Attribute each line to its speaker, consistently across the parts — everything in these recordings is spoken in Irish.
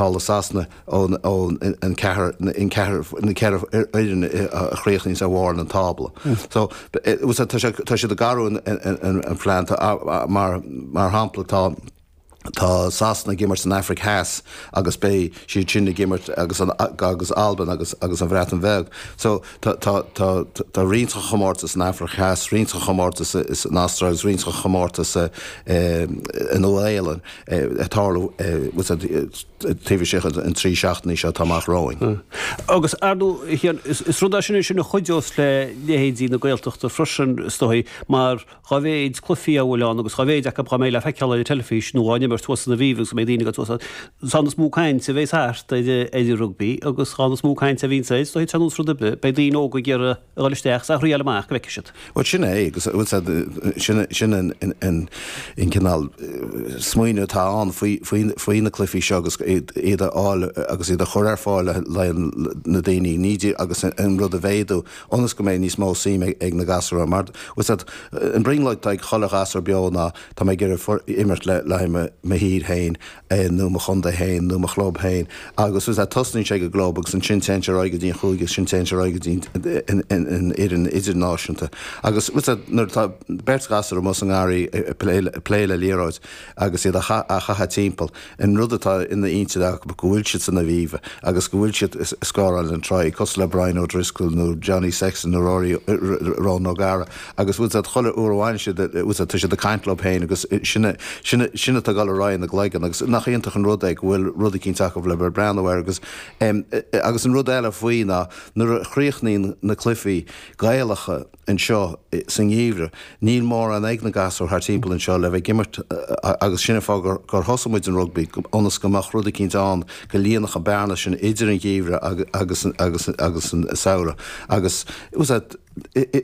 Speaker 1: thall i Sasana ón an ceathair, an ceathair, na ceithre fhoireann a chríochnaíonns ar bharr an tábla. So, tá siad ag athrú an phlean mar mar shampla tá Tá Sasana ag imirt san Afraic Theas agus beidh siad sin ag imirt agus agus Albain agus agus an Bhreatain Bheag. So tá tá tá tá roinnt den chomórtas san Afraic Theas, roinnt den chomórtas san Astráil agus roinnt den chomórtas i Nua Shéalainn ag tarlú taobh istigh den 3 seachtainí seo atá amach romhainn.
Speaker 2: Agus ar ndóigh, is rud é sin ansin a chuideos le leithéidí na Gaeltachta freisin, is dóigh, mar Dá mhéid cluichí a bhfuil ann agus dá mhéid acu dá mbeidh le feiceáil ar an teilifís nó á n-imirt thuas san Aviva agus go mbeidh daoine ag dul suas ann, is mó caint a bheas thart ar an rugbaí agus dhá is mó caint a bhíonns air, is dóigh, ar nós rud ar bith, beidh daoine óga ag iarraidh a dhul isteach is a thriáil amach go bhfeicfidh siad.
Speaker 1: Bhuel, sin é agus sin sin an cineál smaoineamh atá ann faoi na cluichí seo agus iad a fháil agus iad a chur ar fáil le na daoine, ní agus an rud a mhéadú ionas go mbeidh níos mó suim ag na gasúir ann. Mar, bhfuil 's a'd, an brionglóid atá ag chuile ghasúr beo ná tá mé ag iarraidh imirt le haghaidh mo thír féin nó mo chontae féin nó mo chlub féin agus, bhfuil 's a'd, tosnaíonn sé ag an gclub agus ansin téann sé ar aghaidh go dtí an chúige agus ansin téann sé ar aghaidh go dtí an fhoireann idirnáisiúnta. Agus, bhfuil 's a'd, nuair atá beirt ghasúr amuigh sa ngarraí ag plé le liathróid agus iad á chaitheamh timpeall, An rud atá ina intinn acu go bhfuil siad san Aviva agus go bhfuil siad ag scóráil an try, cosúil le Brian O'Driscoll nó Johnny Sexton nó Rory, Ronan O'Gara agus bhfuil 's a'd chuile uair a bhaineann siad, bhfuil 's a'd, tá siad ag caint leo féin agus sin, sin, sin atá ag dul ar aghaidh ina gcloigeann agus nach iontach an rud é go bhfuil rud eicínt acu le bheith ag breathnú air agus, agus an rud eile faoi ná nuair a chríochnaíonn na cluichí Gaelacha, anseo sa ngeimhreadh. Níl mórán ag na gasúir thar timpeall anseo le bheith ag imirt agus sin an fáth gur thosaigh muid an rugbaí, ionas go mbeadh rud eicínt ann go líonfadh an bearna sin idir an gheimhreadh agus agus an samhradh. Agus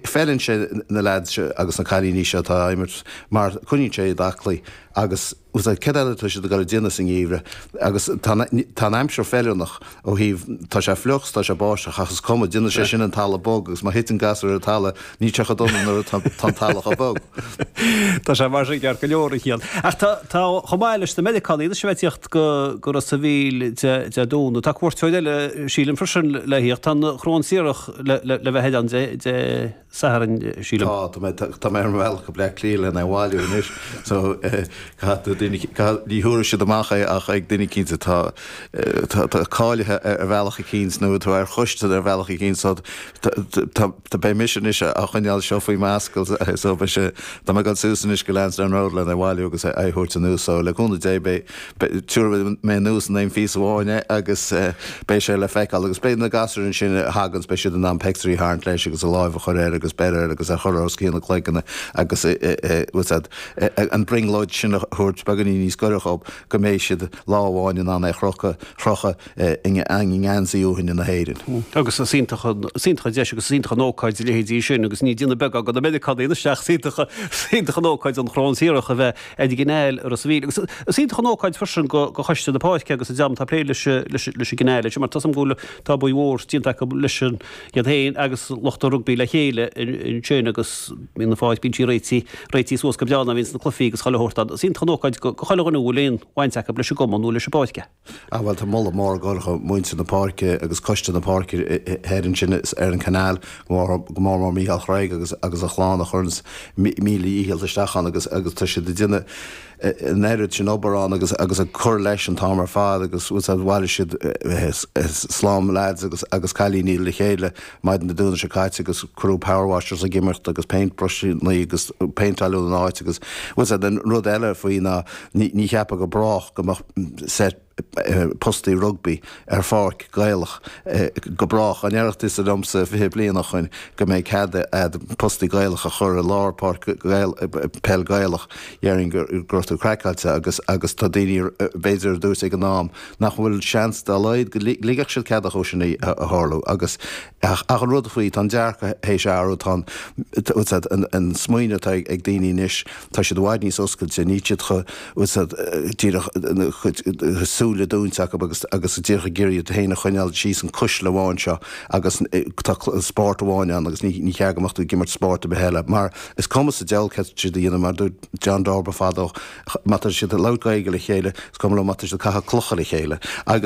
Speaker 1: feileann sé na leaids seo agus na cailíní seo atá ag imirt mar coinníonn sé iad aclaí agus céard eile atá siad ag dul a déanamh sa ngeimhreadh agus tá an aimsir feiliúnach ó thaobh, tá sé fliuch 's tá sé báisteach ach is cuma, déanann sé sin an talamh bog agus má thiteann gasúr ar an talamh níl sé chomh dona nuair atá an talamh chomh bog.
Speaker 2: Tá sé mar sin ceart go leor, a Chian. Ach tá, tá, chomh maith leis na Meiriceánaigh anois a bheith ag tíocht go, go Ros a' Mhíl Dé, Dé Domhnaigh, tá cuairteoir eile, sílim, freisin le thíocht, tá an Chrón Siorach le, le, le bheith ann Dé, Dé Sathairn, sílim.
Speaker 1: Tá, tá mé, tá mé ar mo bhealach go Bleá Cliath lena bhailiú anois so caithfidh duine, ní thabharfaidh siad amach é ach ag duine eicínt atá, atá cáilithe ar bhealach eicínt nó atá ar choiste ar bhealach eicínt so tá, tá, beidh mise anois á choinneáil seo faoi m'ascaill so beidh sé, tá mé ag dul suas anois go Lansdowne Road lena bhailiú agus é a thabhairt anuas so le cúnamh Dé beidh, Tabharfaidh mé anuas in aon phíosa amháin é agus beidh sé le feiceáil. Agus beidh na gasúir ansin a thaganns, beidh siad in ann pictiúirí a tharraingt leis agus a láimh a chur air agus beir air agus é a chur os cionn a gcloigne agus bhfuil 's a'd, an brionglóid sin a thabhairt beagáinín níos gaire dhób go mbeidh siad lá amháin in ann é a chrochadh, chrochadh i ngeansaí uaithne na hÉireann.
Speaker 2: Agus is iontach an, is iontach an deis agus is iontach an ócáid a leithéidí sin agus ní déanamh beag do na Meiriceánaigh anois ach is iontach, is iontach an ócáid an Chrón Siorach a bheith ar an gcineál i Ros a' Mhíl. Agus is iontach an ócáid freisin do choiste na páirce agus an dream atá ag plé leis an gcineál leis mar tá 's agam go bhfuil tá obair mhór déanta acu leis an iad féin agus lucht an rugbaí le chéile ansin agus bíonn an pháirc, bíonn sí réitithe, réitithe suas go breá nuair a bhíonns na cluichí agus chuile shórt ann. Is iontach an ócáid do chuile dhuine a bhfuil aon bhaint acu leis an gcumann nó leis an bpáirc é.
Speaker 1: Ah bhuel tá moladh mór ag dul do mhuintir na páirce agus coiste na páirce thoir ansin ar an Canal, go mór mór Mícheál Chreag agus agus a chlann a chuireanns míle dhícheall isteach ann agus agus tá siad ag déanamh an oiread sin obair ann agus agus ag cur leis an t-am ar fad agus bhfuil 's a'd bhailigh siad slám lads agus agus cailíní le chéile maidin Dé Domhnaigh seo caite agus cuireadh power washers ag imeacht agus paint brushannaí agus péinteáladh an áit agus bhfuil 's a'd an rud eile faoi ná ní ní cheapfá go brách go mbeadh set postaí rugbaí ar pháirc Gaelach go brách. Dá ndéarfadh tusa liomsa 20 bliain ó shoin go mbeidh cead a'd postaí Gaelach a chur i lár páirc peil Gaelach, dhéarfainn go raibh tú craiceáilte agus agus tá daoine b'fhéidir a dúirt ag an am nach bhfuil seans dá laghad go ligfeadh siad cead dhó sin a tharlú agus ach an rud faoi tá an dearcadh théis athrú tá an an smaoineamh atá ag daoine anois tá siad i bhfad níos oscailte níl siad chomh díreach a gcuid súile dúnta acu agus agus díreach ag iarraidh iad féin a choinneáil síos an cuisle amháin seo agus tá spórt amháin ann agus ní cheart go mbeadh tú ag imirt spórt ar bith eile mar is cuma sa diabhal céard tá siad a dhéanamh mar dúirt John Darba fadó má tá siad ag labhairt Gaeilge le chéile is cuma leo má tá siad ag caitheamh clocha le chéile agus.